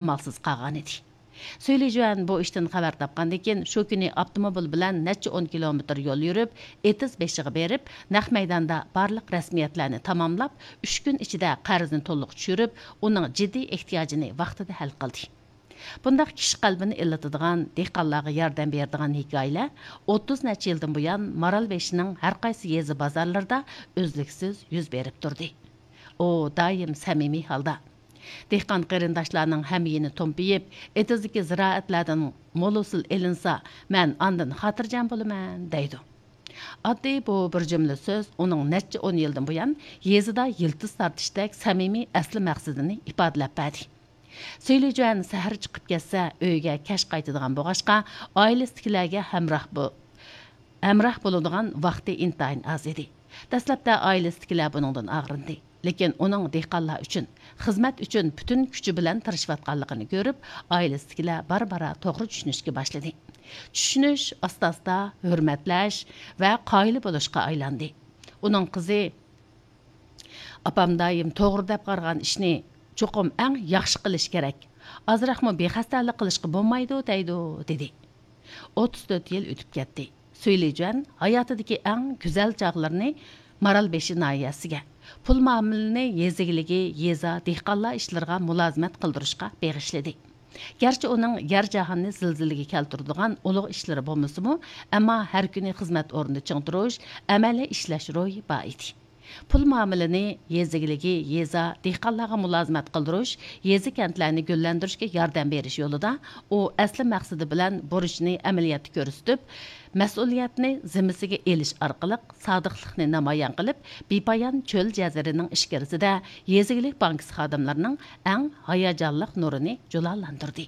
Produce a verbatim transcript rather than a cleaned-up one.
ئامالسىز قالغانىدى. سۈيلى جۈەن بۇ ئىشتىن خەۋەر تاپقاندىن كېيىن، شۇ كۈنى ئاپتوموبىل بىلەن نەچچە ئون كىلومېتىر يول يۈرۈپ، ئېتىز بېشىغا بېرىپ، نەق مەيداندا بارلىق رەسمىيەتلەرنى تاماملاپ، ئۈچ كۈن ئىچىدە قەرزنى تولۇق چۈشۈرۈپ، ئۇنىڭ جىددىي ئېھتىياجىنى ۋاقتىدا ھەل قىلدى. بۇنداق كىشى قەلبىنى ئىللىتىدىغان، دېھقانلارغا ياردەم بېرىدىغان ھېكايىلەر ئوتتۇز نەچچە يىلدىن بۇيان مارالبېشىنىڭ ھەر قايسى يېزا بازارلىرىدا ئۈزلۈكسىز يۈز بېرىپ تۇردى. ئۇ دائىم سەمىمىي ھالدا، دېھقان قېرىنداشلارنىڭ ھەميېنى تومپىيىپ، ئېتىزدىكى زىرائەتلەردىن مول ھوسۇل ئېلىنسا، مەن ئاندىن خاتىرجەم بولىمەن، دەيدۇ. ئاددىي بۇ بىر جۈملە سۆز ئۇنىڭ نەچچە ئون يىلدىن بۇيان يېزىدا يىلتىز تارتىشتەك سەمىمىي ئەسلى مەقسىتىنى ئىپادىلەپ بەردى. سۈيلى جۈەن سەھەر چىقىپ كەتسە، ئۆيىگە كەچ قايتىدىغان بولغاچقا، ئائىلىسىدىكىلەرگە ھەمراھ بو-، ھەمراھ بولىدىغان ۋاقتى ئىنتايىن ئاز ئىدى. دەسلەپتە ئائىلىسىدىكىلەر بۇنىڭدىن ئاغرىندى. لېكىن ئۇنىڭ دېھقانلار ئۈچۈن، خىزمەت ئۈچۈن پۈتۈن كۈچى بىلەن تىرىشىۋاتقانلىقىنى كۆرۈپ، ئائىلىسىدىكىلەر بارا-بارا توغرا چۈشىنىشكە باشلىدى. چۈشىنىش ئاستا-ئاستا ھۆرمەتلەش ۋە قايىل بولۇشقا ئايلاندى. ئۇنىڭ قىزى ئاپام دائىم توغرا دەپ قارىغان ئىشنى چوقۇم ئەڭ ياخشى قىلىش كېرەك، ئازراقمۇ بىخەستەلىك قىلىشقا بولمايدۇ دەيدۇ، دېدى. ئوتتۇز تۆت يىل ئۆتۈپ كەتتى. سۈيلى جۈەن ھاياتىدىكى ئەڭ گۈزەل چاغلىرىنى مارالبېشى ناھىيەسىگە، پۇل مۇئامىلىنى يېزا ئىگىلىكى، يېزا، دېھقانلار ئىشلىرىغا مۇلازىمەت قىلدۇرۇشقا بېغىشلىدى. گەرچە ئۇنىڭ يەر جاھاننى زىلزىلىگە كەلتۈرىدىغان ئۇلۇغ ئىشلىرى بولمىسىمۇ، ئەمما ھەر كۈنى خىزمەت ئورنىدا چىڭ تۇرۇش، ئەمەلىي ئىشلەش روھى بار ئىدى. پۇل مۇئامىلىنى يېزا ئىگىلىكى، يېزا، دېھقانلارغا مۇلازىمەت قىلدۇرۇش، يېزا، كەنتلەرنى گۈللەندۈرۈشكە ياردەم بېرىش يولىدا ئۇ ئەسلى مەقسىتى بىلەن بۇرچىنى ئەمەلىيەتتە كۆرسىتىپ، مەسئۇلىيەتنى زىممىسىگە ئېلىش ئارقىلىق سادىقلىقنى نامايان قىلىپ، بىپايان چۆل جەزىرىنىڭ ئىچكىرىسىدە يېزا ئىگىلىك بانكىسى خادىملىرىنىڭ ئەڭ ھاياجانلىق نۇرىنى جۇلالاندۇردى.